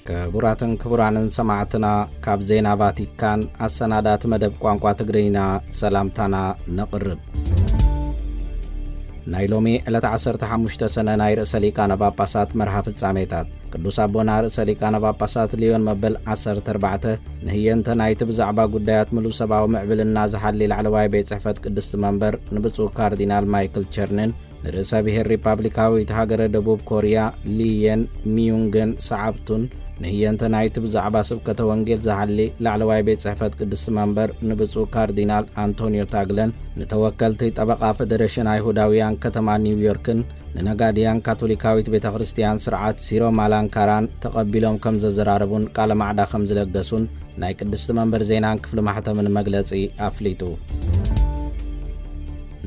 ክቡራትን ክቡራንን ሰማዕትና፣ ካብ ዜና ቫቲካን ኣሰናዳእቲ መደብ ቋንቋ ትግርኛ ሰላምታና ነቕርብ። ናይ ሎሚ ዕለት ዓሰርተ ሓሙሽተ ሰነ ናይ ርእሰ ሊቃነ ጳጳሳት መርሃ ፍጻሜታት። ቅዱስ ኣቦና ርእሰ ሊቃነ ጳጳሳት ሊዮን መበል ዓሰርተ ኣርባዕተ ንህየንተ ናይቲ ብዛዕባ ጉዳያት ምሉእ ሰብኣዊ ምዕብልና ዝሓሊ ላዕለዋይ ቤት ጽሕፈት ቅድስቲ መንበር ንብፁዕ ካርዲናል ማይክል ቸርንን ንርእሰ ብሔር ሪፓብሊካዊት ሃገረ ደቡብ ኮርያ ሊየን ሚዩንግን ሰዓብቱን ንህየንተ ናይቲ ብዛዕባ ስብከተ ወንጌል ዝሓሊ ላዕለዋይ ቤት ጽሕፈት ቅድስቲ መንበር ንብፁዕ ካርዲናል ኣንቶኒዮ ታግለን ንተወከልቲ ጠበቓ ፈደረሽን ኣይሁዳውያን ከተማ ኒውዮርክን ንነጋድያን ካቶሊካዊት ቤተ ክርስቲያን ስርዓት ሲሮ ማላንካራን ተቐቢሎም ከም ዘዘራረቡን ቃለ ማዕዳ ከም ዝለገሱን ናይ ቅድስቲ መንበር ዜናን ክፍሊ ማሕተምን መግለጺ ኣፍሊጡ።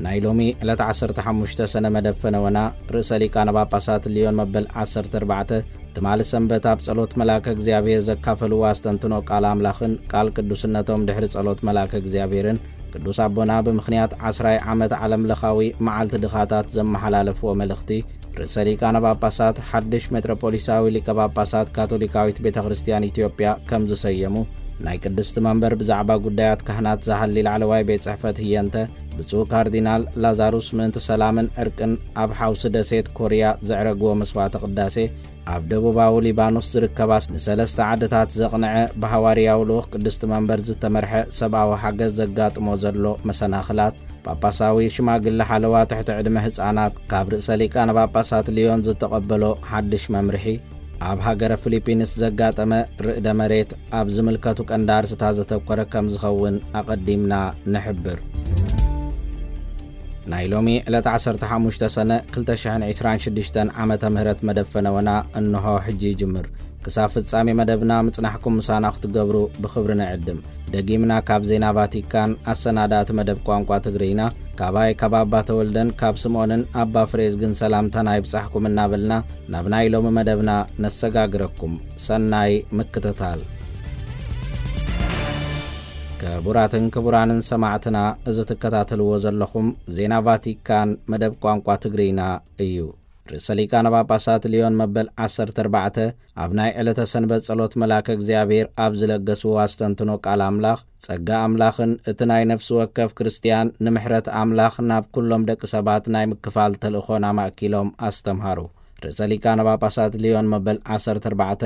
ናይ ሎሚ ዕለት ዓሰርተ ሓሙሽተ ሰነ መደብ ፈነወና ርእሰ ሊቃነ ጳጳሳት ሊዮን መበል ዓሰርተ ኣርባዕተ ትማሊ ሰንበት ኣብ ጸሎት መልኣከ እግዚኣብሔር ዘካፈልዎ ኣስተንትኖ ቃል ኣምላኽን ቃል ቅዱስነቶም ድሕሪ ጸሎት መልኣከ እግዚኣብሔርን ቅዱስ ኣቦና ብምኽንያት ዓስራይ ዓመት ዓለም ለኻዊ መዓልቲ ድኻታት ዘመሓላለፍዎ መልእኽቲ ርእሰ ሊቃነ ጳጳሳት ሓድሽ ሜትሮፖሊሳዊ ሊቀ ጳጳሳት ካቶሊካዊት ቤተ ክርስቲያን ኢትዮጵያ ከም ዝሰየሙ ናይ ቅድስቲ መንበር ብዛዕባ ጉዳያት ካህናት ዝሃሊ ላዕለዋይ ቤት ጽሕፈት ህየንተ ብፁዕ ካርዲናል ላዛሩስ ምእንቲ ሰላምን ዕርቅን ኣብ ሓውሲ ደሴት ኮርያ ዘዕረግዎ መስዋዕተ ቅዳሴ ኣብ ደቡባዊ ሊባኖስ ዝርከባ ንሰለስተ ዓድታት ዘቕንዐ ብሃዋርያዊ ልኡኽ ቅድስቲ መንበር ዝተመርሐ ሰብኣዊ ሓገዝ ዘጋጥሞ ዘሎ መሰናኽላት ጳጳሳዊ ሽማግለ ሓለዋ ትሕቲ ዕድመ ህጻናት ካብ ርእሰ ሊቃነ ጳጳሳት ሊዮን ዝተቐበሎ ሓድሽ መምርሒ ኣብ ሃገረ ፊሊፒንስ ዘጋጠመ ርእደ መሬት ኣብ ዝምልከቱ ቀንዲ ኣርስታት ዘተኮረ ከም ዝኸውን ኣቐዲምና ንሕብር። ናይ ሎሚ ዕለት ዓሰርተ ሓሙሽተ ሰነ ክልተ ሽሕን ዕስራን ሽዱሽተን ዓመተ ምህረት መደብ ፈነወና እንሆ ሕጂ ይጅምር። ክሳብ ፍጻሜ መደብና ምጽናሕኩም ምሳና ክትገብሩ ብኽብሪ ንዕድም። ደጊምና ካብ ዜና ቫቲካን ኣሰናዳእቲ መደብ ቋንቋ ትግርይና ካባይ ካብ ኣባ ተወልደን ካብ ስምኦንን ኣባ ፍሬዝግን ሰላምታና ይብጻሕኩም እናበልና ናብ ናይ ሎሚ መደብና ነሰጋግረኩም። ሰናይ ምክትታል። ክቡራትን ክቡራንን ሰማዕትና፣ እዚ ትከታተልዎ ዘለኹም ዜና ቫቲካን መደብ ቋንቋ ትግርይና እዩ። ርእሰ ሊቃነ ጳጳሳት ሊዮን መበል ዓሰርተ ኣርባዕተ ኣብ ናይ ዕለተ ሰንበት ጸሎት መልኣከ እግዚኣብሔር ኣብ ዝለገስዎ ኣስተንትኖ ቃል ኣምላኽ፣ ጸጋ ኣምላኽን እቲ ናይ ነፍሲ ወከፍ ክርስትያን ንምሕረት ኣምላኽ ናብ ኩሎም ደቂ ሰባት ናይ ምክፋል ተልእኾን ኣማእኪሎም ኣስተምሃሩ። ርእሰ ሊቃነ ጳጳሳት ሊዮን መበል ዓሰርተ ኣርባዕተ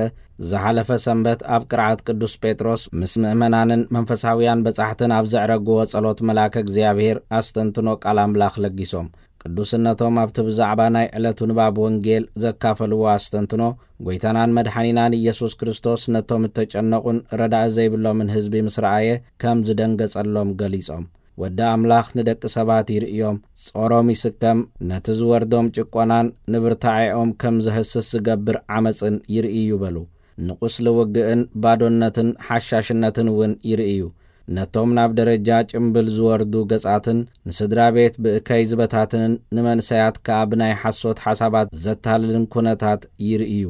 ዝሓለፈ ሰንበት ኣብ ቅርዓት ቅዱስ ጴጥሮስ ምስ ምእመናንን መንፈሳውያን በጻሕትን ኣብ ዘዕረግዎ ጸሎት መልኣከ እግዚኣብሔር ኣስተንትኖ ቃል ኣምላኽ ለጊሶም። ቅዱስነቶም ኣብቲ ብዛዕባ ናይ ዕለቱ ንባብ ወንጌል ዘካፈልዎ ኣስተንትኖ፣ ጐይታናን መድሓኒናን ኢየሱስ ክርስቶስ ነቶም እተጨነቑን ረዳኢ ዘይብሎምን ህዝቢ ምስ ረኣየ ከም ዝደንገጸሎም ገሊጾም። ወዲ ኣምላኽ ንደቂ ሰባት ይርእዮም፣ ጾሮም ይስከም፣ ነቲ ዝወርዶም ጭቆናን ንብርታዔኦም ከም ዘህስስ ዝገብር ዓመጽን ይርእዩ በሉ። ንቁስሊ ውግእን ባዶነትን ሓሻሽነትን እውን ይርእዩ። ነቶም ናብ ደረጃ ጭምብል ዝወርዱ ገጻትን ንስድራ ቤት ብእከይ ዝበታትንን ንመንሰያት ከኣ ብናይ ሓሶት ሓሳባት ዘታልልን ኩነታት ይርእዩ።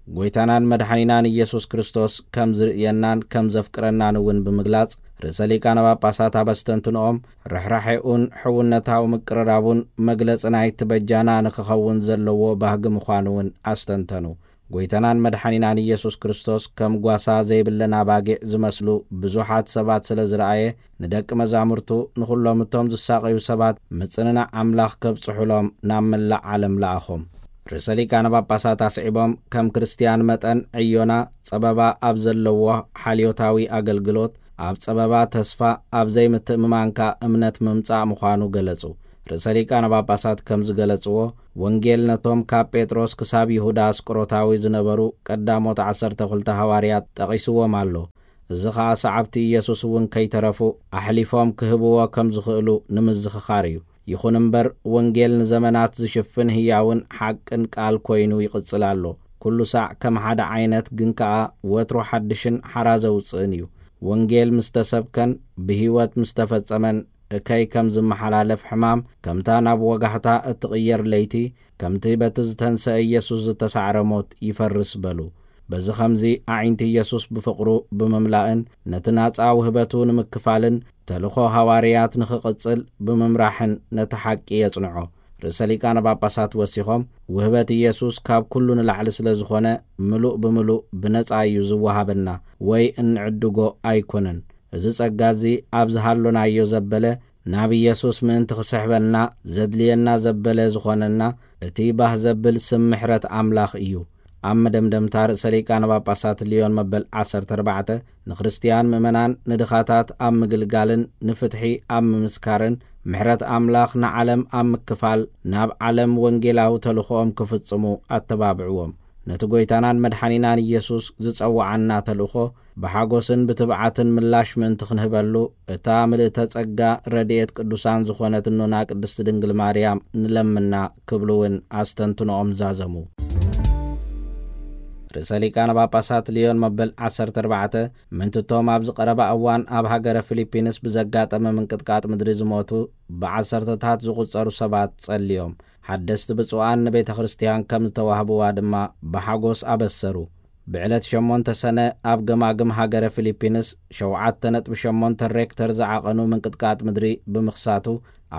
ጐይታናን መድሓኒናን ኢየሱስ ክርስቶስ ከም ዝርእየናን ከም ዘፍቅረናን እውን ብምግላጽ፣ ርእሰ ሊቃነ ጳጳሳት ኣብ ኣስተንትንኦም ርሕራሐኡን ሕውነታዊ ምቅርራቡን መግለጺ ናይቲ በጃና ንክኸውን ዘለዎ ባህጊ ምዃኑ እውን ኣስተንተኑ። ጐይታናን መድሓኒናን ኢየሱስ ክርስቶስ ከም ጓሳ ዘይብለን ኣባጊዕ ዝመስሉ ብዙሓት ሰባት ስለ ዝረኣየ፣ ንደቂ መዛሙርቱ፣ ንኹሎም እቶም ዝሳቐዩ ሰባት ምጽንናዕ ኣምላኽ ከብጽሑሎም ናብ መላእ ዓለም ለኣኾም። ርእሰ ሊቃነ ጳጳሳት ኣስዒቦም፣ ከም ክርስትያን መጠን ዕዮና ጸበባ ኣብ ዘለዎ ሓልዮታዊ ኣገልግሎት፣ ኣብ ጸበባ ተስፋ፣ ኣብ ዘይምትእምማንካ እምነት ምምጻእ ምዃኑ ገለጹ። ርእሰ ሊቃነ ጳጳሳት ከም ዝገለጽዎ፣ ወንጌል ነቶም ካብ ጴጥሮስ ክሳብ ይሁዳ ኣስቆሮታዊ ዝነበሩ ቀዳሞት ዓሰርተ ክልተ ሃዋርያት ጠቒስዎም ኣሎ። እዚ ኸኣ ሰዓብቲ ኢየሱስ እውን ከይተረፉ ኣሕሊፎም ክህብዎ ከም ዝኽእሉ ንምዝኽኻር እዩ። ይኹን እምበር፣ ወንጌል ንዘመናት ዝሽፍን ህያውን ሓቅን ቃል ኮይኑ ይቕጽል ኣሎ። ኩሉ ሳዕ ከም ሓደ ዓይነት፣ ግን ከኣ ወትሩ ሓድሽን ሓራ ዘውጽእን እዩ። ወንጌል ምስ ተሰብከን ብህይወት ምስ ተፈጸመን፣ እከይ ከም ዝመሓላለፍ ሕማም፣ ከምታ ናብ ወጋሕታ እትቕየር ለይቲ፣ ከምቲ በቲ ዝተንሰአ ኢየሱስ ዝተሳዕረ ሞት ይፈርስ በሉ። በዚ ኸምዚ፣ ኣዒንቲ ኢየሱስ ብፍቕሩ ብምምላእን ነቲ ናጻ ውህበቱ ንምክፋልን ተልእኾ ሃዋርያት ንኽቕጽል ብምምራሕን ነቲ ሓቂ የጽንዖ። ርእሰ ሊቃነ ጳጳሳት ወሲኾም፣ ውህበት ኢየሱስ ካብ ኩሉ ንላዕሊ ስለ ዝኾነ፣ ምሉእ ብምሉእ ብነጻ እዩ ዝወሃበና ወይ እንዕድጎ ኣይኮነን። እዚ ጸጋ እዚ ኣብ ዝሃሎናዮ ዘበለ፣ ናብ ኢየሱስ ምእንቲ ክስሕበና ዘድልየና ዘበለ ዝኾነና፣ እቲ ባህ ዘብል ስም ምሕረት ኣምላኽ እዩ። ኣብ መደምደምታ ርእሰ ሊቃነ ጳጳሳት ልዮን መበል ዓሰርተ ኣርባዕተ ንክርስትያን ምእመናን ንድኻታት ኣብ ምግልጋልን ንፍትሒ ኣብ ምምስካርን ምሕረት ኣምላኽ ንዓለም ኣብ ምክፋል ናብ ዓለም ወንጌላዊ ተልእኾኦም ክፍጽሙ ኣተባብዕዎም። ነቲ ጐይታናን መድሓኒናን ኢየሱስ ዝጸውዓና ተልእኾ ብሓጎስን ብትብዓትን ምላሽ ምእንቲ ክንህበሉ እታ ምልእተ ጸጋ ረድኤት ቅዱሳን ዝኾነት እኖና ቅድስቲ ድንግል ማርያም ንለምና ክብሉ እውን ኣስተንትኖኦም ዛዘሙ። ርእሰ ሊቃነ ጳጳሳት ልዮን መበል ዓሰርተ ኣርባዕተ ምእንትቶም ኣብዚ ቀረባ እዋን ኣብ ሃገረ ፊሊፒንስ ብዘጋጠመ ምንቅጥቃጥ ምድሪ ዝሞቱ ብዓሰርተታት ዝቑጸሩ ሰባት ጸልዮም። ሓደስቲ ብፁዓን ንቤተ ክርስቲያን ከም ዝተዋህብዋ ድማ ብሓጎስ ኣበሰሩ። ብዕለት ሸሞንተ ሰነ ኣብ ገማግም ሃገረ ፊሊፒንስ ሸውዓተ ነጥቢ ሸሞንተ ሬክተር ዝዓቐኑ ምንቅጥቃጥ ምድሪ ብምኽሳቱ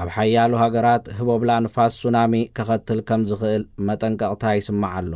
ኣብ ሓያሎ ሃገራት ህቦብላ ንፋስ ሱናሚ ከኸትል ከም ዝኽእል መጠንቀቕታ ይስማዕ ኣሎ።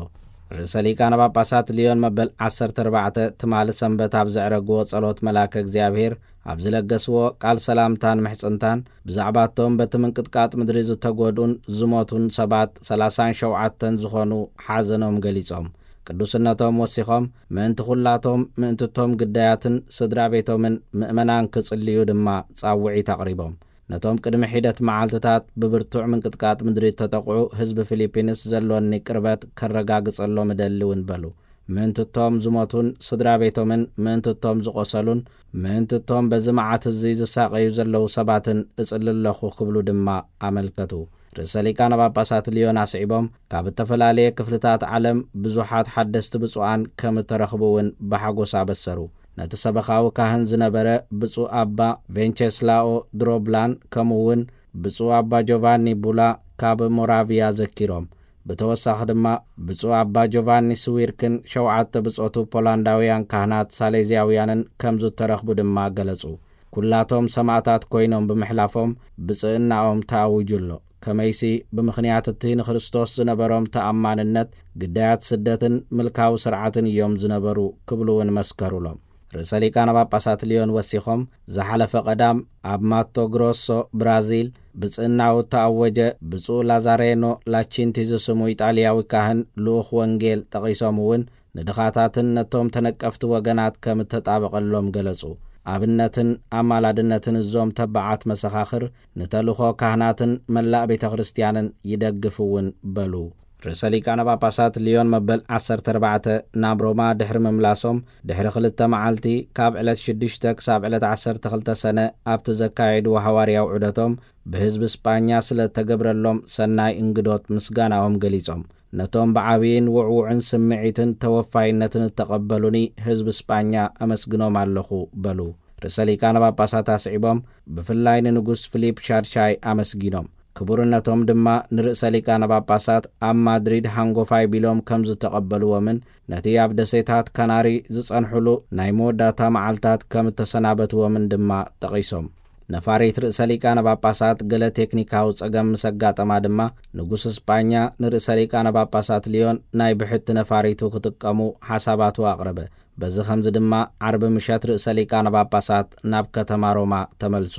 ርእሰ ሊቃነ ጳጳሳት ልዮን መበል ዓሰርተ ኣርባዕተ ትማሊ ሰንበት ኣብ ዘዕረግዎ ጸሎት መልኣከ እግዚኣብሔር ኣብ ዝለገስዎ ቃል ሰላምታን ምሕጽንታን ብዛዕባቶም በቲ ምንቅጥቃጥ ምድሪ ዝተጎድኡን ዝሞቱን ሰባት ሰላሳን ሸውዓተን ዝኾኑ ሓዘኖም ገሊጾም። ቅዱስነቶም ወሲኾም ምእንቲ ኩላቶም ምእንትቶም ግዳያትን ስድራ ቤቶምን ምእመናን ክጽልዩ ድማ ጻውዒት ኣቕሪቦም። ነቶም ቅድሚ ሒደት መዓልትታት ብብርቱዕ ምንቅጥቃጥ ምድሪ እተጠቕዑ ህዝቢ ፊሊፒንስ ዘሎኒ ቅርበት ከረጋግጸሎም እደሊ እውን በሉ። ምእንትቶም ዝሞቱን ስድራ ቤቶምን ምእንትቶም ዝቖሰሉን ምእንትቶም በዚ መዓት እዚ ዝሳቐዩ ዘለዉ ሰባትን እጽሊ ኣለኹ ክብሉ ድማ ኣመልከቱ። ርእሰ ሊቃነ ጳጳሳት ልዮን ኣስዒቦም ካብ እተፈላለየ ክፍልታት ዓለም ብዙሓት ሓደስቲ ብፁዓን ከም እተረኽቡ እውን ብሓጎስ ኣበሰሩ። ነቲ ሰበኻዊ ካህን ዝነበረ ብፁዕ ኣባ ቬንቸስላኦ ድሮብላን ከምኡ እውን ብፁዕ ኣባ ጆቫኒ ቡላ ካብ ሞራቪያ ዘኪሮም። ብተወሳኺ ድማ ብፁዕ ኣባ ጆቫኒ ስዊርክን ሸውዓተ ብጾቱ ፖላንዳውያን ካህናት ሳሌዝያውያንን ከም ዝተረኽቡ ድማ ገለጹ። ኩላቶም ሰማእታት ኮይኖም ብምሕላፎም ብጽእናኦም ተኣዊጁ ኣሎ። ከመይሲ ብምኽንያት እቲ ንክርስቶስ ዝነበሮም ተኣማንነት ግዳያት ስደትን ምልካዊ ስርዓትን እዮም ዝነበሩ ክብሉ እውን መስከሩሎም። ርእሰ ሊቃነ ጳጳሳት ልዮን ወሲኾም ዝሓለፈ ቀዳም ኣብ ማቶ ግሮሶ ብራዚል ብጽእናኡ እተኣወጀ ብፁዕ ላዛሬኖ ላቺንቲ ዝስሙ ኢጣልያዊ ካህን ልኡኽ ወንጌል ጠቒሶም እውን ንድኻታትን ነቶም ተነቀፍቲ ወገናት ከም እተጣበቐሎም ገለጹ። ኣብነትን ኣማላድነትን እዞም ተባዓት መሰኻኽር ንተልእኾ ካህናትን መላእ ቤተ ክርስቲያንን ይደግፍ እውን በሉ። ርእሰ ሊቃነ ጳጳሳት ልዮን መበል ዓሰርተ ኣርባዕተ ናብ ሮማ ድሕሪ ምምላሶም ድሕሪ ክልተ መዓልቲ ካብ ዕለት ሽዱሽተ ክሳብ ዕለት ዓሰርተ ክልተ ሰነ ኣብቲ ዘካየድዎ ሃዋርያዊ ዑደቶም ብህዝቢ ስጳኛ ስለ እተገብረሎም ሰናይ እንግዶት ምስጋናኦም ገሊጾም። ነቶም ብዓብይን ውዕውዕን ስምዒትን ተወፋይነትን እተቐበሉኒ ህዝቢ ስጳኛ ኣመስግኖም ኣለኹ በሉ። ርእሰ ሊቃነ ጳጳሳት ኣስዒቦም ብፍላይ ንንጉስ ፊሊፕ ሻድሻይ ኣመስጊኖም። ክቡርነቶም ድማ ንርእሰ ሊቃነ ጳጳሳት ኣብ ማድሪድ ሃንጎፋይ ቢሎም ከም ዝተቐበልዎምን ነቲ ኣብ ደሴታት ካናሪ ዝጸንሑሉ ናይ መወዳእታ መዓልታት ከም እተሰናበትዎምን ድማ ጠቒሶም። ነፋሪት ርእሰ ሊቃነ ጳጳሳት ገለ ቴክኒካዊ ጸገም ምስ ኣጋጠማ ድማ ንጉስ ስጳኛ ንርእሰ ሊቃነ ጳጳሳት ልዮን ናይ ብሕቲ ነፋሪቱ ክጥቀሙ ሓሳባቱ ኣቕረበ። በዚ ኸምዚ ድማ ዓርቢ ምሸት ርእሰ ሊቃነ ጳጳሳት ናብ ከተማ ሮማ ተመልሱ።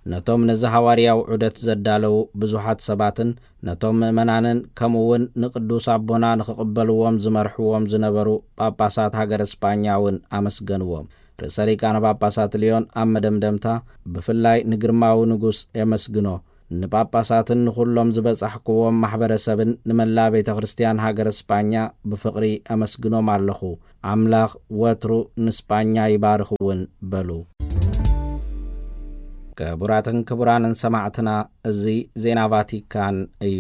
ነቶም ነዚ ሃዋርያዊ ዑደት ዘዳለዉ ብዙሓት ሰባትን ነቶም ምእመናንን ከምኡ እውን ንቅዱስ ኣቦና ንኽቕበልዎም ዝመርሕዎም ዝነበሩ ጳጳሳት ሃገረ ስጳኛ እውን ኣመስገንዎም። ርእሰ ሊቃነ ጳጳሳት ልዮን ኣብ መደምደምታ ብፍላይ ንግርማዊ ንጉስ የመስግኖ። ንጳጳሳትን ንኹሎም ዝበጻሕክዎም ማሕበረሰብን ንመላ ቤተ ክርስቲያን ሃገረ ስጳኛ ብፍቕሪ ኣመስግኖም ኣለኹ። ኣምላኽ ወትሩ ንስጳኛ ይባርኽ እውን በሉ። ክቡራትን ክቡራንን ሰማዕትና፣ እዚ ዜና ቫቲካን እዩ።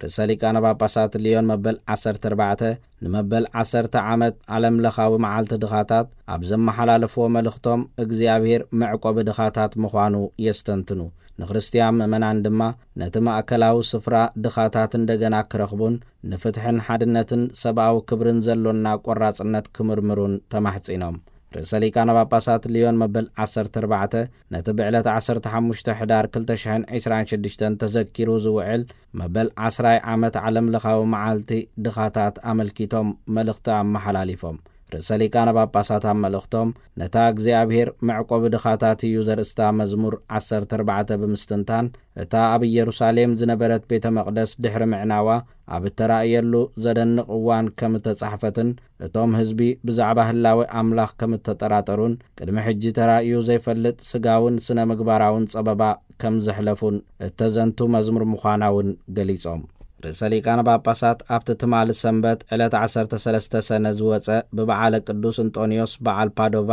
ርእሰ ሊቃነ ጳጳሳት ልዮን መበል ዓሰርተ ኣርባዕተ ንመበል ዓሰርተ ዓመት ዓለም ለኻዊ መዓልቲ ድኻታት ኣብ ዘመሓላለፍዎ መልእኽቶም፣ እግዚኣብሔር መዕቆቢ ድኻታት ምዃኑ የስተንትኑ። ንክርስትያን ምእመናን ድማ ነቲ ማእከላዊ ስፍራ ድኻታት እንደገና ክረኽቡን ንፍትሕን ሓድነትን ሰብኣዊ ክብርን ዘሎና ቆራጽነት ክምርምሩን ተማሕጺኖም። ርእሰ ሊቃነ ጳጳሳት ልዮን መበል ዓሰርተ ኣርባዕተ ነቲ ብዕለት ዓሰርተ ሓሙሽተ ሕዳር ክልተ ሽሕን ዕስራን ሽዱሽተን ተዘኪሩ ዝውዕል መበል ዓስራይ ዓመት ዓለም ለኻዊ መዓልቲ ድኻታት ኣመልኪቶም መልእኽቲ ኣመሓላሊፎም። ርእሰ ሊቃነ ጳጳሳት ኣብ መልእኽቶም፣ ነታ እግዚኣብሔር መዕቆቢ ድኻታት እዩ ዘርእስታ መዝሙር ዓሰርተ ኣርባዕተ ብምስትንታን፣ እታ ኣብ ኢየሩሳሌም ዝነበረት ቤተ መቕደስ ድሕሪ ምዕናዋ ኣብ እተራእየሉ ዘደንቕ እዋን ከም እተጻሕፈትን፣ እቶም ህዝቢ ብዛዕባ ህላዌ ኣምላኽ ከም እተጠራጠሩን፣ ቅድሚ ሕጂ ተራእዩ ዘይፈልጥ ስጋውን ስነ ምግባራውን ጸበባ ከም ዘሕለፉን እተዘንቱ መዝሙር ምዃና እውን ገሊጾም። ርእሰ ሊቃነ ጳጳሳት ኣብቲ ትማሊ ሰንበት ዕለት ዓሰርተ ሰለስተ ሰነ ዝወጸ ብበዓለ ቅዱስ እንጦንዮስ በዓል ፓዶቫ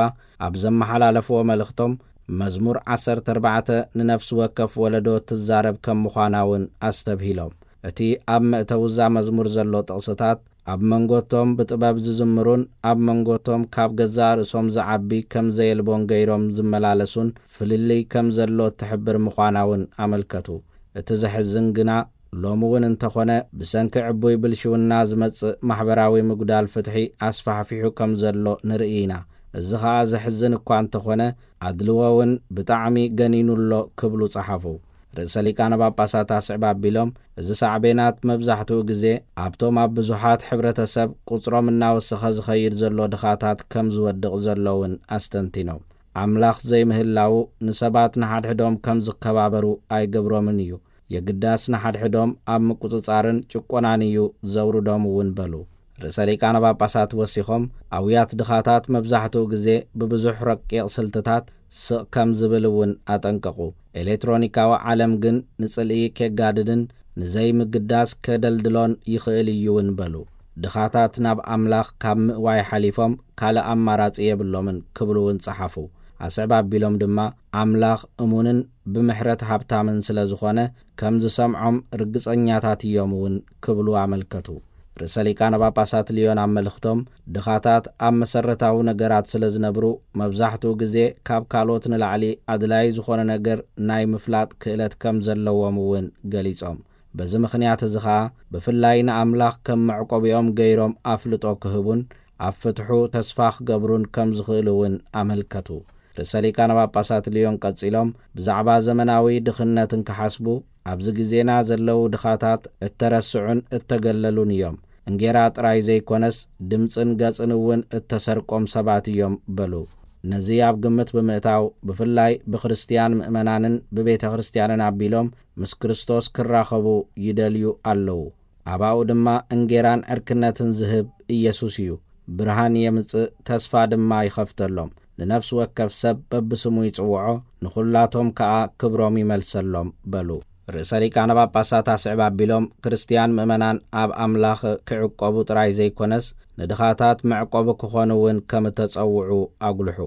ኣብ ዘመሓላለፍዎ መልእኽቶም፣ መዝሙር ዓሰርተ ኣርባዕተ ንነፍሲ ወከፍ ወለዶ ትዛረብ ከም ምዃና እውን ኣስተብሂሎም። እቲ ኣብ መእተዊ እዛ መዝሙር ዘሎ ጥቕስታት፣ ኣብ መንጎቶም ብጥበብ ዝዝምሩን ኣብ መንጎቶም ካብ ገዛእ ርእሶም ዝዓቢ ከም ዘየልቦን ገይሮም ዝመላለሱን ፍልልይ ከም ዘሎ እትሕብር ምዃና እውን ኣመልከቱ። እቲ ዘሕዝን ግና፣ ሎሚ እውን እንተኾነ ብሰንኪ ዕቡይ ብልሽውና ዝመጽእ ማሕበራዊ ምጉዳል ፍትሒ ኣስፋሕፊሑ ከም ዘሎ ንርኢ ኢና። እዚ ኸኣ ዘሕዝን እኳ እንተኾነ፣ ኣድልዎ እውን ብጣዕሚ ገኒኑ ኣሎ ክብሉ ጸሓፉ። ርእሰ ሊቃነ ጳጳሳት ኣስዕብ ኣቢሎም፣ እዚ ሳዕቤናት መብዛሕትኡ ግዜ ኣብቶም ኣብ ብዙሓት ሕብረተሰብ ቁጽሮም እናወሰኸ ዝኸይድ ዘሎ ድኻታት ከም ዝወድቕ ዘሎ እውን ኣስተንቲኖም። ኣምላኽ ዘይምህላዉ ንሰባት ንሓድሕዶም ከም ዝከባበሩ ኣይገብሮምን እዩ። የግዳስ ንሓድሕዶም ኣብ ምቁጽጻርን ጭቆናን እዩ ዘውርዶም እውን በሉ። ርእሰ ሊቃነ ጳጳሳት ወሲኾም፣ ኣውያት ድኻታት መብዛሕትኡ ግዜ ብብዙሕ ረቂቕ ስልትታት ስቕ ከም ዝብል እውን ኣጠንቀቑ። ኤሌክትሮኒካዊ ዓለም ግን ንጽልኢ ኬጋድድን ንዘይምግዳስ ከደልድሎን ይኽእል እዩ እውን በሉ። ድኻታት ናብ ኣምላኽ ካብ ምእዋይ ሓሊፎም ካልእ ኣማራጺ የብሎምን ክብሉ እውን ጸሓፉ። ኣስዕብ ኣቢሎም ድማ፣ ኣምላኽ እሙንን ብምሕረት ሃብታምን ስለ ዝኾነ፣ ከም ዝሰምዖም ርግጸኛታት እዮም እውን ክብሉ ኣመልከቱ። ርእሰ ሊቃነ ጳጳሳት ልዮን ኣብ መልእኽቶም፣ ድኻታት ኣብ መሰረታዊ ነገራት ስለ ዝነብሩ፣ መብዛሕትኡ ግዜ ካብ ካልኦት ንላዕሊ ኣድላዪ ዝኾነ ነገር ናይ ምፍላጥ ክእለት ከም ዘለዎም እውን ገሊጾም። በዚ ምኽንያት እዚ ኸኣ፣ ብፍላይ ንኣምላኽ ከም መዕቆቢኦም ገይሮም ኣፍልጦ ክህቡን ኣብ ፍትሑ ተስፋ ክገብሩን ከም ዝኽእሉ እውን ኣመልከቱ። ርእሰ ሊቃነ ጳጳሳት ልዮን ቀጺሎም፣ ብዛዕባ ዘመናዊ ድኽነት እንክሓስቡ፣ ኣብዚ ግዜና ዘለዉ ድኻታት እተረስዑን እተገለሉን እዮም። እንጌራ ጥራይ ዘይኮነስ፣ ድምጽን ገጽን እውን እተሰርቆም ሰባት እዮም በሉ። ነዚ ኣብ ግምት ብምእታው፣ ብፍላይ ብክርስትያን ምእመናንን ብቤተ ክርስትያንን ኣቢሎም ምስ ክርስቶስ ክራኸቡ ይደልዩ ኣለዉ። ኣባኡ ድማ እንጌራን ዕርክነትን ዝህብ ኢየሱስ እዩ። ብርሃን የምጽእ፣ ተስፋ ድማ ይኸፍተሎም። ንነፍሲ ወከፍ ሰብ በብስሙ ይጽውዖ፣ ንኹላቶም ከኣ ክብሮም ይመልሰሎም በሉ። ርእሰ ሊቃነ ጳጳሳት ኣስዕብ ኣቢሎም፣ ክርስትያን ምእመናን ኣብ ኣምላኽ ክዕቆቡ ጥራይ ዘይኮነስ፣ ንድኻታት መዕቆቢ ክኾኑ እውን ከም እተጸውዑ ኣጉልሑ።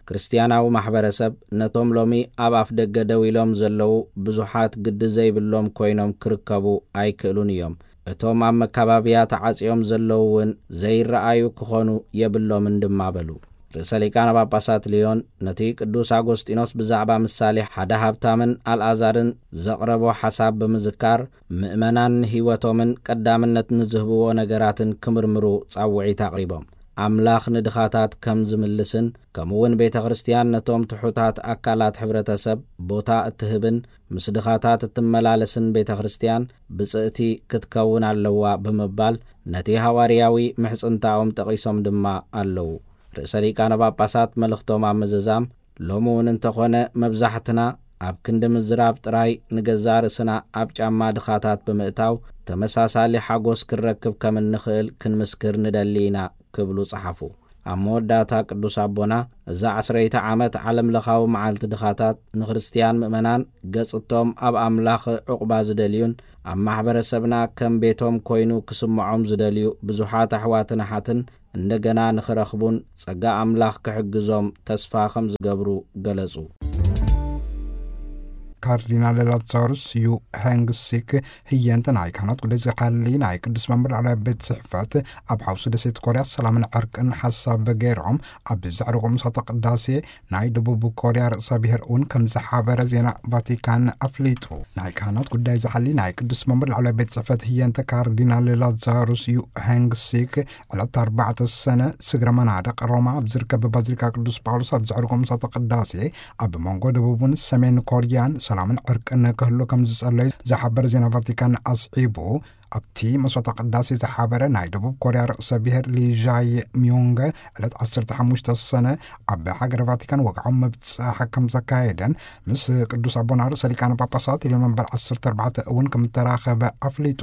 ክርስትያናዊ ማሕበረሰብ ነቶም ሎሚ ኣብ ኣፍ ደገ ደው ኢሎም ዘለዉ ብዙሓት ግዲ ዘይብሎም ኮይኖም ክርከቡ ኣይክእሉን እዮም። እቶም ኣብ መካባብያ ተዓጽዮም ዘለዉ እውን ዘይረኣዩ ክኾኑ የብሎምን ድማ በሉ። ርእሰ ሊቃነ ጳጳሳት ልዮን ነቲ ቅዱስ ኣጎስጢኖስ ብዛዕባ ምሳሌ ሓደ ሃብታምን ኣልኣዛርን ዘቕረቦ ሓሳብ ብምዝካር፣ ምእመናን ንህይወቶምን ቀዳምነት ንዝህብዎ ነገራትን ክምርምሩ ጻውዒት ኣቕሪቦም። ኣምላኽ ንድኻታት ከም ዝምልስን፣ ከምኡውን ቤተ ክርስትያን ነቶም ትሑታት ኣካላት ሕብረተሰብ ቦታ እትህብን፣ ምስ ድኻታት እትመላለስን ቤተ ክርስትያን ብጽእቲ ክትከውን ኣለዋ ብምባል፣ ነቲ ሃዋርያዊ ምሕጽንታኦም ጠቒሶም ድማ ኣለዉ። ርእሰ ሊቃነ ጳጳሳት መልእኽቶም ኣብ ምዝዛም፣ ሎሚ እውን እንተኾነ መብዛሕትና ኣብ ክንዲ ምዝራብ ጥራይ ንገዛእ ርእስና ኣብ ጫማ ድኻታት ብምእታው ተመሳሳሊ ሓጎስ ክንረክብ ከም እንኽእል ክንምስክር ንደሊ ኢና ክብሉ ጸሓፉ። ኣብ መወዳእታ ቅዱስ ኣቦና፣ እዛ ዓስረይቲ ዓመት ዓለም ለኻዊ መዓልቲ ድኻታት ንክርስትያን ምእመናን ገጽቶም ኣብ ኣምላኽ ዕቑባ ዝደልዩን ኣብ ማሕበረሰብና ከም ቤቶም ኮይኑ ክስምዖም ዝደልዩ ብዙሓት ኣሕዋትን ኣሓትን እንደገና ንኽረኽቡን ጸጋ ኣምላኽ ክሕግዞም ተስፋ ከም ዝገብሩ ገለጹ። ካርዲናል ላዛሩስ ዩ ሄንግ ሲክ ህየንተ ናይ ካህናት ጉዳይ ዝሓሊ ናይ ቅዱስ መንበር ላዕለዋይ ቤት ጽሕፈት፣ ኣብ ሓውሲ ደሴት ኮርያ ሰላምን ዕርቅን ሓሳብ ገይሮም፣ ኣብ ዘዕረጎ ምሳተ ቅዳሴ ናይ ደቡብ ኮርያ ርእሰ ብሔር እውን ከም ዝሓበረ ዜና ቫቲካን ኣፍሊጡ። ናይ ካህናት ጉዳይ ዝሓሊ ናይ ቅዱስ መንበር ላዕለዋይ ቤት ጽሕፈት ህየንተ ካርዲናል ላዛሩስ ዩ ሄንግ ሲክ ዕለት ኣርባዕተ ሰነ ስግረ መናድቕ ሮማ ኣብ ዝርከብ ባዚሊካ ቅዱስ ጳውሎስ ኣብ ዘዕረጎ ምሳተ ቅዳሴ፣ ኣብ መንጎ ደቡብን ሰሜን ኮርያን ሰላምን ዕርቅን ክህሉ ከም ዝጸለዩ ዝሓበረ ዜና ቫቲካን ኣስዒቡ፣ ኣብቲ መስዋዕተ ቅዳሴ ዝሓበረ ናይ ደቡብ ኮርያ ርእሰ ብሔር ሊ ዣይ ሚዮንገ ዕለት ዓሰርተ ሓሙሽተ ሰነ ኣብ ሃገረ ቫቲካን ወግዓዊ ምብጻሕ ከም ዘካየደን፣ ምስ ቅዱስ ኣቦና ርእሰ ሊቃነ ጳጳሳት ሊዮን መንበር ዓሰርተ ኣርባዕተ እውን ከም እተራኸበ ኣፍሊጡ።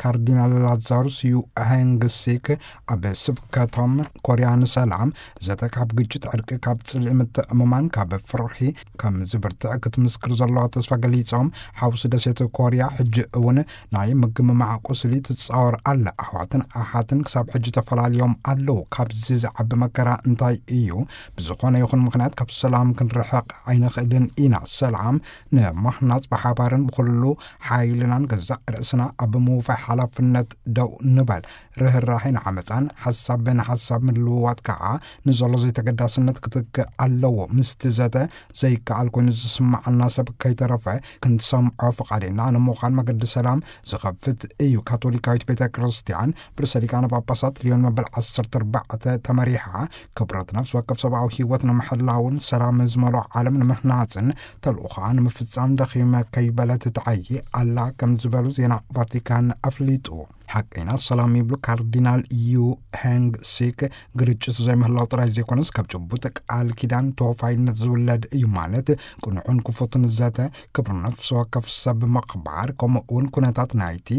ካርዲናል ላዛሩስ ዩ ሄንግ ሲክ ኣብ ስብከቶም፣ ኮርያ ንሰላም፣ ዘተ ካብ ግጭት፣ ዕርቂ፣ ካብ ጽልኢ ምትእምማን፣ ካብ ፍርሒ ከም ዝብርትዕ ክትምስክር ዘለዋ ተስፋ ገሊጾም፣ ሓውሲ ደሴት ኮርያ ሕጂ እውን ናይ ምግምማዕ ቁስሊ ትጻወር ኣላ። ኣሕዋትን ኣሓትን ክሳብ ሕጂ ተፈላልዮም ኣለዉ። ካብዚ ዝዓቢ መከራ እንታይ እዩ? ብዝኾነ ይኹን ምኽንያት ካብ ሰላም ክንርሕቕ ኣይንኽእልን ኢና። ሰላም ንምህናጽ ብሓባርን ብኹሉ ሓይልናን ገዛእ ርእስና ኣብ ምውፋይ ሓላፍነት ደው ንበል። ርህራሄ ንዓመጻን ሓሳብ ንሓሳብ ምልውዋጥ ከኣ ንዘሎ ዘይተገዳስነት ክትክእ ኣለዎ። ምስቲ ዘተ ዘይከኣል ኮይኑ ዝስምዓና ሰብ ከይተረፈ ክንሰምዖ ፍቓድና ንምዃን መገዲ ሰላም ዝኸፍት እዩ። ካቶሊካዊት ቤተ ክርስቲያን ብርእሰ ሊቃነ ጳጳሳት ሊዮን መበል ዓሰርተ ኣርባዕተ ተመሪሓ፣ ክብረት ነፍሲ ወከፍ ሰብኣዊ ህይወት ንምሕላውን ሰላም ዝመልኦ ዓለም ንምህናጽን ተልእኾኣ ንምፍጻም ደኺመ ከይበለት ትዓዪ ኣላ ከም ዝበሉ ዜና ቫቲካን ኣፍሊጡ። ሓቀይና ሰላም ይብሉ ካርዲናል ዩ ሄንግ ሲክ፣ ግርጭት ዘይምህላው ጥራይ ዘይኮነስ ካብ ጭቡጥ ቃል ኪዳን ተወፋይነት ዝውለድ እዩ። ማለት ቅኑዕን ክፉትን ዘተ፣ ክብሪ ነፍሲ ወከፍ ሰብ ምኽባር፣ ከምኡ እውን ኩነታት ናይቲ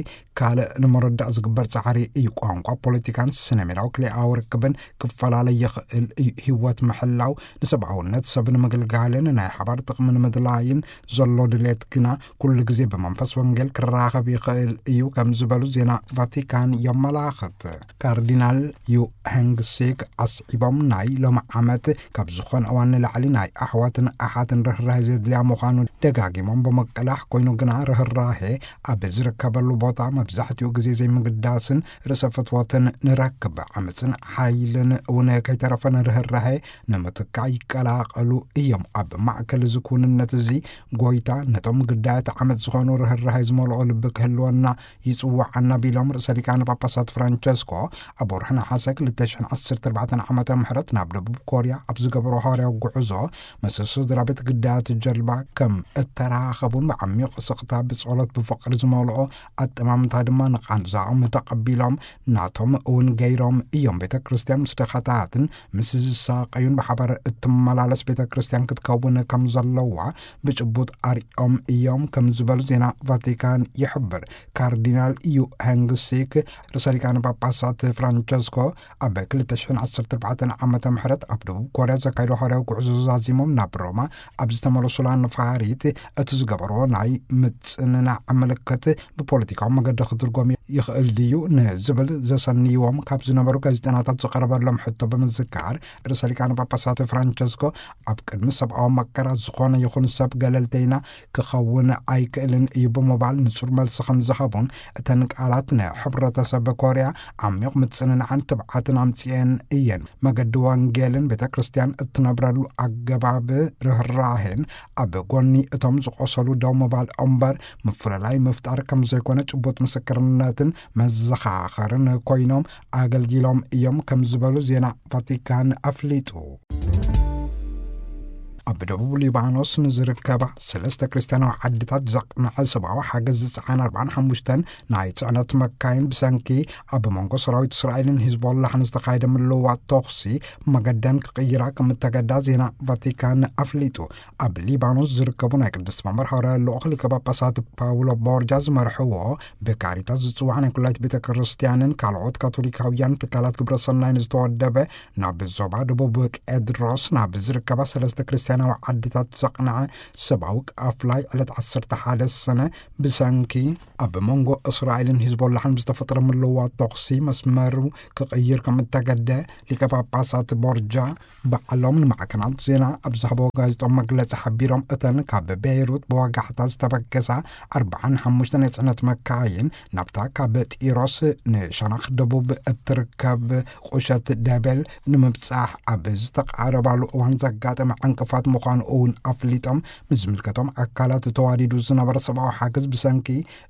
ካልእ ንምርዳእ ዝግበር ጻዕሪ እዩ። ቋንቋ፣ ፖለቲካን ስነ ሜዳዊ ክልኤኣዊ ርክብን ክፈላለ ይኽእል እዩ። ህይወት ምሕላው፣ ንሰብኣውነት ሰብ ንምግልጋልን ናይ ሓባር ጥቕሚ ንምድላይን ዘሎ ድሌት ግና ኩሉ ግዜ ብመንፈስ ወንጌል ክራኸብ ይኽእል እዩ ከም ዝበሉ ዜና ቫቲካን የመላኽት። ካርዲናል ዩ ሄንግ ሲክ ኣስዒቦም፣ ናይ ሎሚ ዓመት ካብ ዝኾነ እዋን ንላዕሊ ናይ ኣሕዋትን ኣሓትን ርህራሄ ዘድልያ ምዃኑ ደጋጊሞም ብምቅላሕ፣ ኮይኑ ግና ርህራሄ ኣብ ዝርከበሉ ቦታ መብዛሕትኡ ግዜ ዘይምግዳስን ርእሰ ፍትወትን ንረክብ። ዓመፅን ሓይልን እውን ከይተረፈ ንርህራሄ ንምትካእ ይቀላቐሉ እዮም። ኣብ ማእከል እዚ ክውንነት እዚ ጎይታ ነቶም ግዳያት ዓመፅ ዝኾኑ ርህራሄ ዝመልኦ ልቢ ክህልወና ይጽውዓና ቢሎም ርእሰ ሊቃነ ጳጳሳት ፍራንቸስኮ ኣብ ወርሒ ነሓሰ ክልተ ሽሕን ዓሰርተ ኣርባዕተን ዓመተ ምሕረት ናብ ደቡብ ኮርያ ኣብ ዝገበሮ ሃዋርያዊ ጉዕዞ ምስ ስድራ ቤት ግዳያት ጀልባ ከም እተራኸቡን ብዓሚቕ ስቕታ ብጸሎት ብፍቕሪ ዝመልኦ ኣጠማምታ ድማ ንቓንዛኦም ተቐቢሎም ናቶም እውን ገይሮም እዮም። ቤተ ክርስቲያን ምስ ድኻታትን ምስ ዝሳቐዩን ብሓባር እትመላለስ ቤተ ክርስቲያን ክትከውን ከም ዘለዋ ብጭቡጥ ኣርኦም እዮም ከም ዝበሉ ዜና ቫቲካን ይሕብር። ካርዲናል ዩ ሄንግሲክ ርእሰ ሊቃነ ጳጳሳት ፍራንቸስኮ ኣብ ክልተ ሽሕን ዓሰርተ ኣርባዕተን ዓመተ ምሕረት ኣብ ደቡብ ኮርያ ዘካይዶ ሃዋርያዊ ጉዕዞ ዛዚሞም ናብ ሮማ ኣብ ዝተመለሱላ ነፋሪት እቲ ዝገበርዎ ናይ ምጽንናዕ ምልክት ብፖለቲካዊ መገዲ ክትርጎም ይኽእል ድዩ ንዝብል ዘሰንይዎም ካብ ዝነበሩ ጋዜጠናታት ዝቐረበሎም ሕቶ ብምዝካር፣ ርእሰ ሊቃነ ጳጳሳት ፍራንቸስኮ ኣብ ቅድሚ ሰብኣዊ መከራ ዝኾነ ይኹን ሰብ ገለልተይና ክኸውን ኣይክእልን እዩ ብምባል ንጹር መልሲ ከም ዝሃቡን፣ እተን ቃላት ንሕብረተሰብ ኮርያ ዓሚቕ ምጽንናዕን ትብዓትን ኣምጽኤን እየን። መገዲ ወንጌልን ቤተ ክርስቲያን እትነብረሉ ኣገባብ ርህራሄን ኣብ ጎኒ እቶም ዝቆሰሉ ደው ምባል እምበር ምፍልላይ ምፍጣር ከም ዘይኮነ ጭቡጥ ምስክርነትን መዘኻኸርን ኮይኖም ኣገልጊሎም እዮም ከም ዝበሉ ዜና ቫቲካን ኣፍሊጡ። ኣብ ደቡብ ሊባኖስ ንዝርከባ ሰለስተ ክርስትያናዊ ዓድታት ዘቕንዐ ሰብኣዊ ሓገዝ ዝጸዓና ኣርባዓን ሓሙሽተን ናይ ጽዕነት መካይን ብሰንኪ ኣብ መንጎ ሰራዊት እስራኤልን ሂዝቦላሕን ዝተኻየደ ምልውዋጥ ተኹሲ መገደን ክቕይራ ከም እተገዳ ዜና ቫቲካን ኣፍሊጡ። ኣብ ሊባኖስ ዝርከቡ ናይ ቅድስቲ መንበር ሃዋርያ ልኡኽ ሊቀ ጳጳሳት ፓውሎ ቦርጃ ዝመርሕዎ ብካሪታስ ዝጽዋዕ ናይ ኩላይት ቤተ ክርስቲያንን ካልኦት ካቶሊካውያን ትካላት ግብረ ሰናይን ዝተወደበ ናብ ዞባ ደቡብ ቄድሮስ ናብ ዝርከባ ሰለስተ ክርስትያን ናዊ ዓድታት ዘቕንዐ ሰብኣዊ ኣፍላይ ዕለት ዓሰርተ ሓደ ሰነ ብሰንኪ ኣብ መንጎ እስራኤልን ሂዝቦላሕን ብዝተፈጥረ ምልዋጥ ተኹሲ መስመሩ ክቕይር ከም እተገደ ሊቀ ጳጳሳት ቦርጃ ባዕሎም ንማዕከናት ዜና ኣብ ዝሃቦ ጋዜጣዊ መግለጺ ሓቢሮም፣ እተን ካብ ቤይሩት ብወጋሕታ ዝተበገሳ ኣርባዓን ሓሙሽተን የጽዕነት መካይን ናብታ ካብ ጢሮስ ንሸነኽ ደቡብ እትርከብ ቁሸት ደበል ንምብጻሕ ኣብ ዝተቃረባሉ እዋን ዘጋጠመ ዕንቅፋት ምዃኑ እውን ኣፍሊጦም፣ ምስ ዝምልከቶም ኣካላት ተዋዲዱ ዝነበረ ሰብኣዊ ሓገዝ ብሰንኪ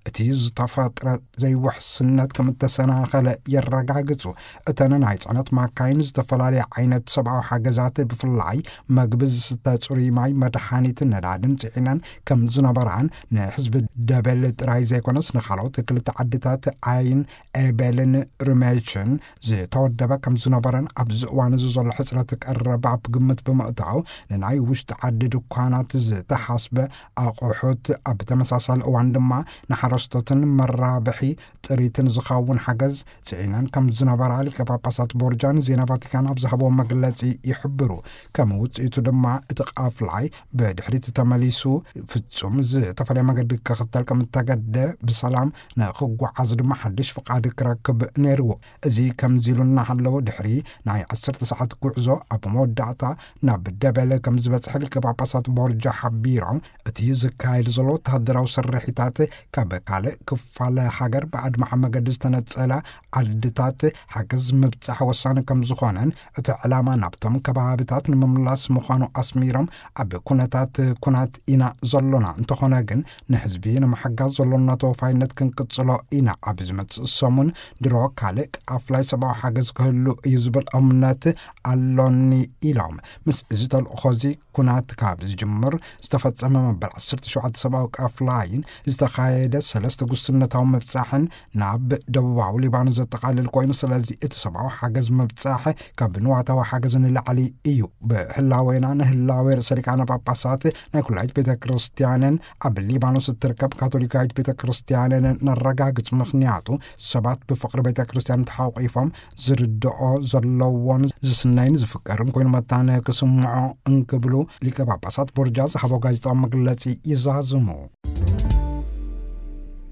እቲ ዝተፈጥረ ዘይውሕስነት ከም እተሰናኸለ የረጋግጹ። እተን ናይ ጽዕነት ማካይን ዝተፈላለየ ዓይነት ሰብኣዊ ሓገዛት፣ ብፍላይ መግቢ፣ ዝስተ ጽሩይ ማይ፣ መድሓኒትን ነዳድን ጽዒነን ከም ዝነበራን ንህዝቢ ደበል ጥራይ ዘይኮነስ ንኻልኦት ክልተ ዓድታት ዓይን ኤቤልን ርሜችን ዝተወደበ ከም ዝነበረን ኣብዚ እዋን እዚ ዘሎ ሕጽረት ቀረብ ኣብ ግምት ብምእታው ንናይ ውሽጢ ዓዲ ድኳናት ዝተሓስበ ኣቑሑት ኣብ ተመሳሳሊ እዋን ድማ ንሓረስቶትን መራብሒ ጥሪትን ዝኸውን ሓገዝ ጽዒነን ከም ዝነበራ ሊቀ ጳጳሳት ቦርጃ ንዜና ቫቲካን ኣብ ዝሃብዎ መግለጺ ይሕብሩ። ከም ውጽኢቱ ድማ እቲ ቃፍላይ ብድሕሪት ተመሊሱ ፍጹም ዝተፈለየ መገዲ ክኽተል ከም እተገደ ብሰላም ንኽጓዓዝ ድማ ሓድሽ ፍቓድ ክረክብ ነይርዎ። እዚ ከምዚ ኢሉ እናሃለወ ድሕሪ ናይ ዓሰርተ ሰዓት ጉዕዞ ኣብ መወዳእታ ናብ ደበለ ከም ዝበጽሐ ሊቀ ጳጳሳት ቦርጃ ሓቢሮም፣ እቲ ዝካየድ ዘሎ ወተሃደራዊ ስርሒታት ካብ ካልእ ክፋለ ሃገር ብኣድማዒ መገዲ ዝተነጸለ ዓድታት ሓገዝ ምብጻሕ ወሳኒ ከም ዝኾነን እቲ ዕላማ ናብቶም ከባብታት ንምምላስ ምዃኑ ኣስሚሮም፣ ኣብ ኩነታት ኩናት ኢና ዘሎና፣ እንተኾነ ግን ንህዝቢ ንምሕጋዝ ዘሎና ተወፋይነት ክንቅጽሎ ኢና። ኣብ ዝመጽእ ሰሙን ድሮ ካልእ ኣፍላይ ሰብኣዊ ሓገዝ ክህሉ እዩ ዝብል እምነት ኣሎኒ ኢሎም። ምስ እዚ ተልእኾ እዚ ኩናት ካብ ዝጅምር ዝተፈጸመ መበል ዓሰርተ ሸውዓተ ሰብኣዊ ቃፍላይን ዝተኻየደ ሰለስተ ጉስነታዊ ምብጻሕን ናብ ደቡባዊ ሊባኖስ ዘጠቓልል ኮይኑ፣ ስለዚ እቲ ሰብኣዊ ሓገዝ ምብጻሕ ካብ ንዋታዊ ሓገዝ ንላዕሊ እዩ። ብህላዌና ንህላዌ ርእሰ ሊቃነ ጳጳሳት ናይ ኩላይት ቤተ ክርስቲያንን ኣብ ሊባኖስ እትርከብ ካቶሊካዊት ቤተ ክርስቲያንን ነረጋግጽ፣ ምኽንያቱ ሰባት ብፍቕሪ ቤተ ክርስቲያን ተሓቂፎም ዝርድኦ ዘለዎን ዝስነይን ዝፍቀርን ኮይኑ መታን ክስምዖ እንክብሉ ሊቀ ጳጳሳት ቦርጃ ዝሃቦ ጋዜጣዊ መግለጺ ይዛዝሙ።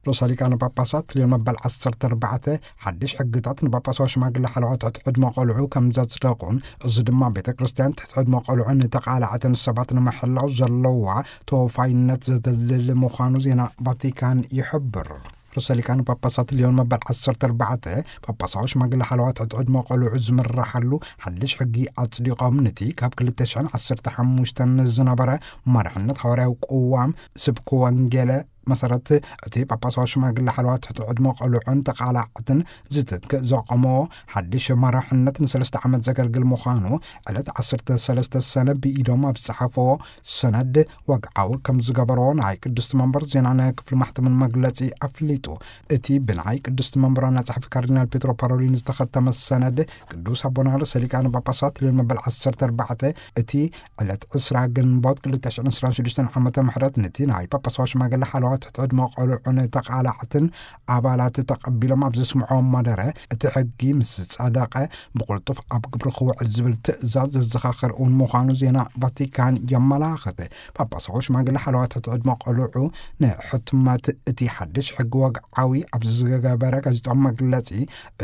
ርእሰ ሊቃነ ጳጳሳት ሊዮን መበል ዓሰርተ ኣርባዕተ ሓድሽ ሕግታት ንጳጳሳዊ ሽማግለ ሓለዋ ትሕቲ ዕድመ ቆልዑ ከም ዘጽደቑን፣ እዚ ድማ ቤተ ክርስቲያን ትሕቲ ዕድመ ቆልዑ ንተቓላዕትን ሰባት ንምሕላው ዘለዋ ተወፋይነት ዘደልድል ምዃኑ ዜና ቫቲካን ይሕብር። ርእሰ ሊቃነ ጳጳሳት ሊዮን መበል ዓሰርተ ኣርባዕተ ጳጳሳዊ ሽማግለ ሓለዋ ትሕቲ ዕድመ ቆልዑ ዝምርሓሉ ሓድሽ ሕጊ ኣጽዲቖም፣ ነቲ ካብ ክልተ ሽሕን ዓሰርተ ሓሙሽተን ዝነበረ መርሕነት ሃዋርያዊ ቅዋም ስብኪ ወንጌለ መሰረት እቲ ጳጳሳዊ ሽማግለ ሓለዋ ትሕቲ ዕድመ ቆልዑን ተቓላዕትን ዝትክእ ዘቆሞ ሓድሽ መራሕነት ንሰለስተ ዓመት ዘገልግል ምዃኑ ዕለት ዓሰርተ ሰለስተ ሰነ ብኢዶም ኣብ ዝጸሓፈዎ ሰነድ ወግዓዊ ከም ዝገበርዎ ናይ ቅድስቲ መንበር ዜናን ክፍሊ ማሕተምን መግለጺ ኣፍሊጡ። እቲ ብናይ ቅድስቲ መንበር ዋና ጸሓፊ ካርዲናል ፔትሮ ፓሮሊን ዝተኸተመ ሰነድ ቅዱስ ኣቦና ርእሰ ሊቃነ ጳጳሳት ሊዮን መበል ዓሰርተ ኣርባዕተ እቲ ዕለት ዕስራ ግንቦት ክልተ ሽሕን ዕስራን ሽዱሽተን ዓመተ ምሕረት ነቲ ናይ ጳጳሳዊ ሽማግለ ሓለዋ ትሕቲ ዕድመ ቆልዑን ተቓላዕትን ኣባላት ተቐቢሎም ኣብ ዘስምዕዎ መደረ፣ እቲ ሕጊ ምስ ጸደቐ ብቕልጡፍ ኣብ ግብሪ ክውዕል ዝብል ትእዛዝ ዘዘኻኽር እውን ምዃኑ ዜና ቫቲካን የመላኽት። ጳጳሳዊ ሽማግለ ሓለዋ ትሕቲ ዕድመ ቆልዑ ንሕትመት እቲ ሓድሽ ሕጊ ወግዓዊ ኣብ ዝገበረ ጋዜጣዊ መግለጺ፣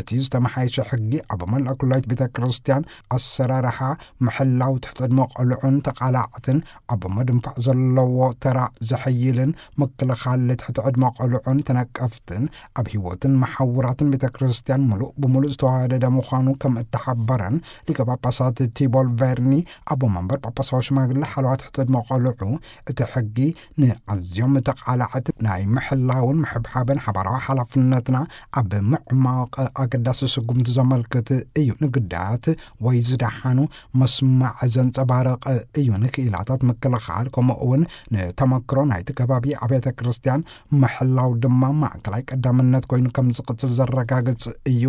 እቲ ዝተመሓየሸ ሕጊ ኣብ መላእ ኩላይት ቤተ ክርስቲያን ኣሰራርሓ ምሕላው ትሕቲ ዕድመ ቆልዑን ተቓላዕትን ኣብ ምድንፋዕ ዘለዎ ተራ ዘሐይልን ምክልኻል ትሕቲ ዕድመ ቆልዑን ተነቀፍትን ኣብ ህይወትን መሓውራትን ቤተ ክርስቲያን ምሉእ ብምሉእ ዝተዋሃደደ ምዃኑ ከም እተሓበረን ሊቀ ጳጳሳት ቲቦል ቬርኒ ኣቦ መንበር ጳጳሳዊ ሽማግለ ሓለዋ ትሕቲ ዕድመ ቆልዑ፣ እቲ ሕጊ ንኣዝዮም ተቓላዕቲ ናይ ምሕላውን ምሕብሓብን ሓባራዊ ሓላፍነትና ኣብ ምዕማቕ ኣገዳሲ ስጉምቲ ዘመልክት እዩ። ንግዳያት ወይ ዝደሓኑ መስማዕ ዘንጸባርቕ እዩ። ንክኢላታት ምክልኻል ከምኡ እውን ንተመክሮ ናይቲ ከባቢ ኣብያተ ክርስቲያን ምሕላው ድማ ማእከላይ ቀዳምነት ኮይኑ ከም ዝቕጽል ዘረጋግጽ እዩ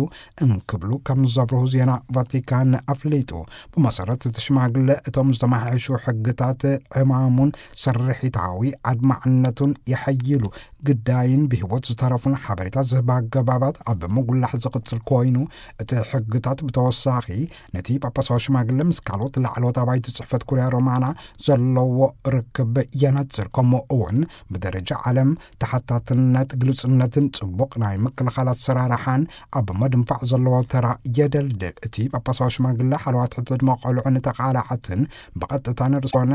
እንክብሉ ከም ዘብርሁ ዜና ቫቲካን ኣፍሊጡ። ብመሰረት እቲ ሽማግለ እቶም ዝተመሓየሹ ሕግታት ዕማሙን ስርሒታዊ ኣድማዕነቱን የሐይሉ። ግዳይን ብህይወት ዝተረፉን ሓበሬታ ዝህባ ኣገባባት ኣብ ምጉላሕ ዝቕጽል ኮይኑ፣ እቲ ሕግታት ብተወሳኺ ነቲ ጳጳሳዊ ሽማግለ ምስ ካልኦት ላዕለዎት ኣባይቲ ጽሕፈት ኩርያ ሮማና ዘለዎ ርክብ የነጽር። ከምኡ እውን ብደረጃ ዓለም ተሓታትነት፣ ግልጽነትን ጽቡቕ ናይ ምክልኻል ኣሰራርሓን ኣብ መድንፋዕ ዘለዎ ተራ የደልድል። እቲ ጳጳሳዊ ሽማግለ ሓለዋት ሕቶ ዕድመ ቆልዑ ንተቓላዓትን ብቐጥታ ንርእሶነ